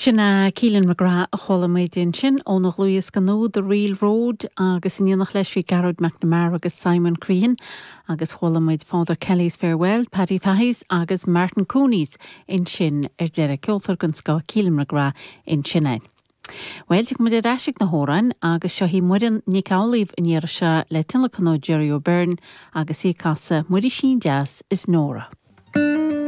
Sin é Keelan McGrath a chuala muid ansin óna dhlúthdhiosca nua The Real Road agus in éineacht leis bhí Gearóid McNamara agus Simon Crean agus chuala muid Father Kelly's Farewell, Paddy Fahy's agus Martin Cooney's ansin ar deireadh. Ceoltóir den scoth Keelan McGrath ansin é. Bhuel, tiocfaidh muid ar ais ag na hamhráin agus seo í Muireann Nic Amhlaoibh an iarraidh seo le tionlacan ó Gerry O'Beirne agus í ag casadh Muirísín Deas is Nóra.